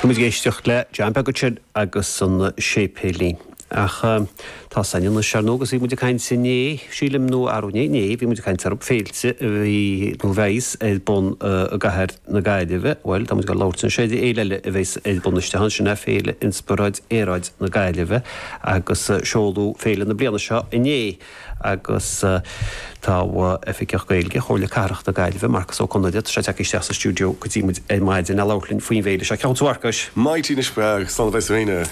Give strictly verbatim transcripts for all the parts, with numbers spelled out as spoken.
Tá muid ag éisteacht le John Beag ansin agus an Séipéilín. Ach tá san anois ar ndóigh agus bhí muid ag caint inné, sílim nó arú inné, inné bhí muid ag caint ar féilte a bhí nó a bheas ar bun i gcathair na Gaillimhe. Bhuel, tá muid ag labhairt anois ar fhéile eile a bheas ar bun isteach ansin, Féile Inspioráid Aeráid na Gaillimhe agus seoladh féile na bliana seo inné agus tá Oifigeach Gaeilge Chomhairle Cathrach na Gaillimhe, Marcus Ó Conaire, tá sé tagtha isteach sa stiúideo go dtí muid ar maidin le labhairt linn faoin bhféile seo. Ceann tú Mharcais? Maidin anois slán a bheith sa féine.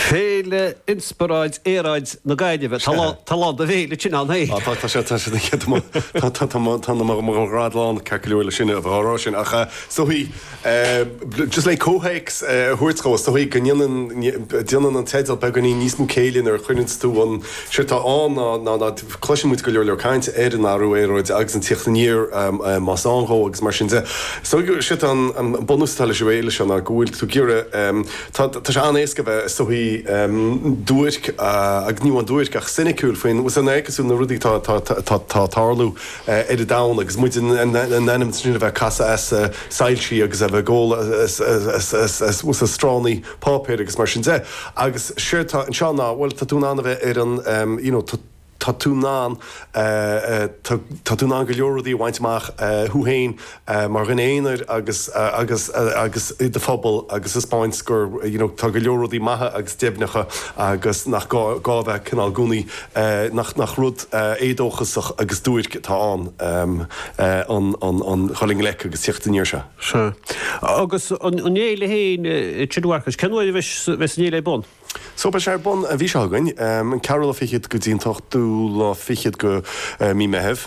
Féile Inspioráid Aeráid na Gaillimhe. Tá lá de bhéile sin an é. Tá tá sé tá sé tá mo ghrad lán ceart go leor le sin a bheith á rá sin ach so hí just le comhthéacs a thabhairt dhó so hí go ndéanann déanann an teideal beagáinín níos mó céille nuair a chuireann tú an sé tá ann ná ná cloiseann muid go leor leor caint ar an athrú aeráide agus an tíocht aniar más ann dhó agus mar sin de. So sé an an bunús atá leis an bhféile seo ná go bhfuil tú ag iarraidh tá tá sé an-éasca bheith so hí duairc agus ní amháin duairc ach soiniciúil faoin san cosúil na rudaí tá tá tá tá tarlú ar an domhan agus muid in ainm sin a bheith casadh as soilsí agus a bheith ag ól as as as as as stránaí páipéir agus mar sin de. Agus séard tá anseo ná bhuel tá tú in ann a bheith ar an you know tá tá tú in ann tá tú in ann go leor rudaí a bhaint amach thú féin mar dhuine aonair agus agus agus i do phobal agus taispeáint gur you know tá go leor rudaí maithe agus deimhneacha agus nach gá gá bheith cineál i gcónaí nach nach rud éadóchasach agus duairc atá ann an an an dhul i ngleic agus tíocht aniar seo. Sea. Agus an an fhéile féin sin Mharcais, cén uair a bheas bheas an fhéile ar bun? So beidh sé ar bun an mhí seo chugainn, an ceathrú lá fichead go dtí an t-ochtú lá fichead go mí Meitheamh.